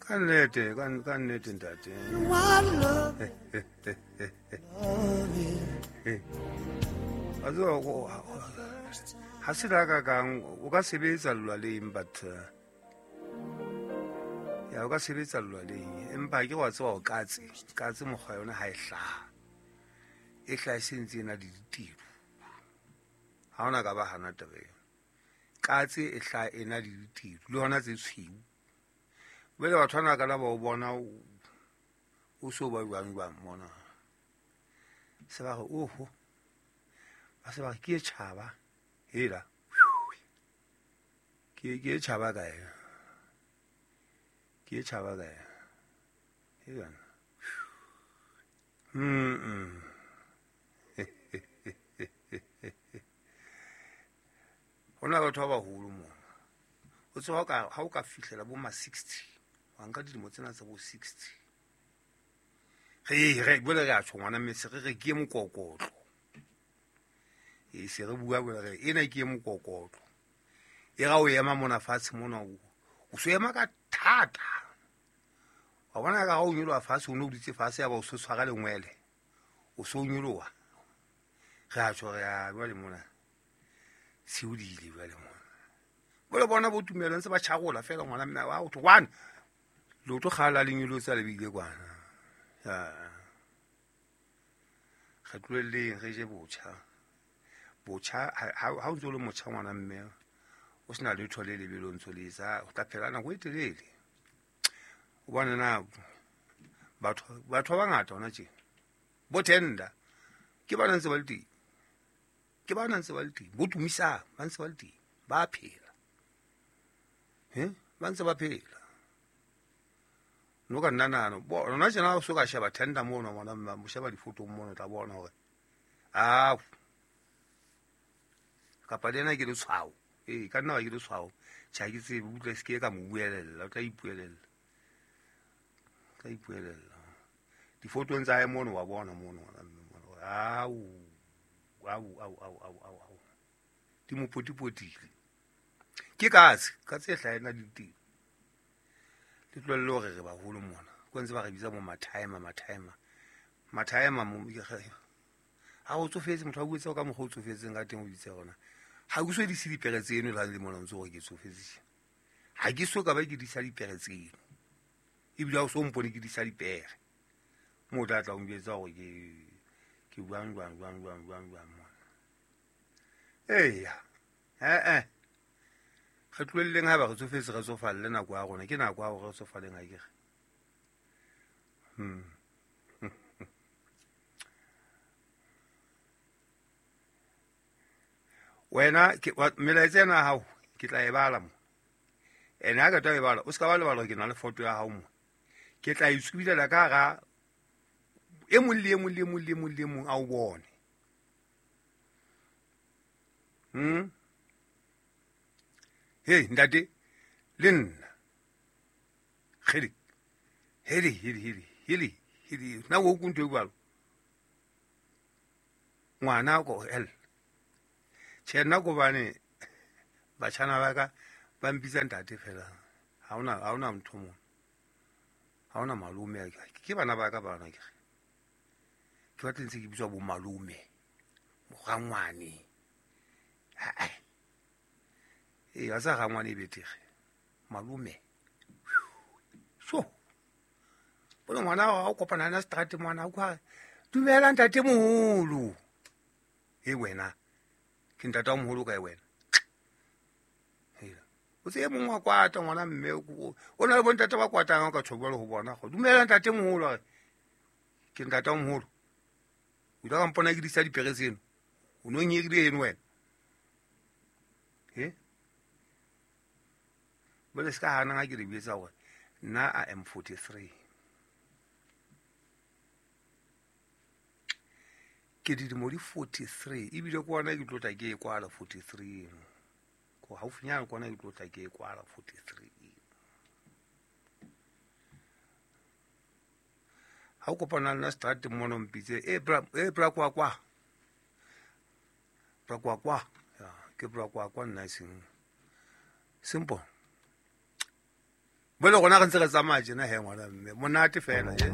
Ka nnete, ka nnete ntate. Wa tseba ha se la ka kang o ka sebetsa lwaleng, but ya o ka sebetsa lwaleng, empa ke wa tseba o katse katse mokgwa yona ha e hlaha, e hlaha e sentse e na le ditiro. Ha ona ka ba hana taba eo. Katse e hlaha e na le ditiro le hona tse tshweu. Jwale batho bana ka la ba o bona o so ba jwang jwang mona. Se ba re oho, ba se ba re ke e tjhaba hela, ke e tjhaba kae, ke e tjhaba kae hela. Ho na batho ba baholo mona. O tseba ha o ka fihlela bo ma 60, wa nka dilemo tsena tsa bo 60. Re bole re a tjho ngwana mme se re re ke mokokotlo. E se re bua bole re ena ke mokokotlo. E ra o ema mona fatshe mona o so ema ka thata. Wa bona ka ha o nyoloha fatshe, o no dutse fatshe ya ba o so tshwara lengwele. O so nyoloha. Re a tjho re a jwale mona. Se o dile jwale mona. Bole bona bo tumelo ntse ba tjharola fela ngwana mme wa o one. Leoto kgala le nyolotsa le bile kwana. Ya. Re tlohelleng re je botjha. Botjha ha o ntse o le motjha ngwana mme o sena letho le lebelo ntse le etsa, o tla phela nako e telele. O bona na batho ba bangata hona tje. Bo tender ke ba ntse ba le teng. Ke ba ntse ba le teng. Bo Tumisang ba ntse ba le teng. Ba phela. Ba ntse ba phela. No ka nna nahana, bo rona tjena o so ka sheba tender mono ngwana mme, mo sheba difotong mono, tla bona hore ao kapa le ena ke letshwao. Ee, ka nna ba ke letshwao. Tjhe, ha ke tsebe, utlwa se ke ka mo buelella, o tla ipuelella. O tla ipuelella. Difotong tsa hae mono wa bona mono ngwana mme mono. Au, au, au, au, au, au, au. Di mo potipotile. Ke katse, katse e hlaha ena le ditiro. Le tlohelle hore re baholo mona. Ko ntse ba re bitsa bo mathaema, mathaema. Mathaema mo, ha o tsofetse, motho a buetse ka mokgwa o tsofetseng ka teng o bitse rona. Ha ke so dise dipere tseno le ha le mona ntse hore ke tsofetse. Ha ke so ka ba ke disa dipere tseno. Ebile ha o so mpone ke disa dipere. Mo o tla tla o njwetsa hore ke buang jwang, jwang, jwang, jwang, jwang mona. Eya. Re tlohelleng ha ba re tsofetse, re tsofalle nako ya rona. Ke nako ya hore re tsofaleng ha ke re. Wena ke melaetsa ena ya hao ke tla e bala mo. Ene ha ke tla e bala, o ska ba lebala hore ke na le foto ya hao mo. Ke tla e tsubilela ka hara e mong le e mong le e mong le e mong le e mong a o bone. Hey ntate le nna. Kgele. Hele, hele, hele, hele, hele. Na o kuntwe jwalo? Ngwana ko hell. Tjhe, nna ko bane batjhana ba ka ba mpitsa ntate fela. Ha hona ntho mo. Ha hona malome. Ke bana ba ka bana ke re. Ke batla ntse ke bitswa bo malome. Morangwane. Ha. Ee, wa tseba rangwane e betere. Malome. So. Bona ngwana wa o kopana le seterateng ngwana o kwa dumela ntate moholo. E wena. Ke ntate wa moholo kae wena? Hela. O tseye mongwe wa kwata ngwana mme o na le bontate ba kwatang ka tjho jwalo ho bona. Go dumela ntate moholo a re. Ke ntate wa moholo. O tla mpona ke disa dipere tseno. O no nyerile eno wena. He? Bole se ka hana ha ke re bitsa hore nna I am 43. Ke dilemo di 43 ebile ke ona ke tlo tla ke e kwala 43 eno. Ko haufinyana ke ona ke tlo tla ke e kwala 43 eno. Ha o kopana le nna seterateng mona o mpitse, e bra, e bra kwa kwa. Bra kwa kwa. Ya, ke bra kwa kwa nna e seng. Simple. Bole rona re ntse re tsamaya tjena he, ngwana mme, monate fela. E.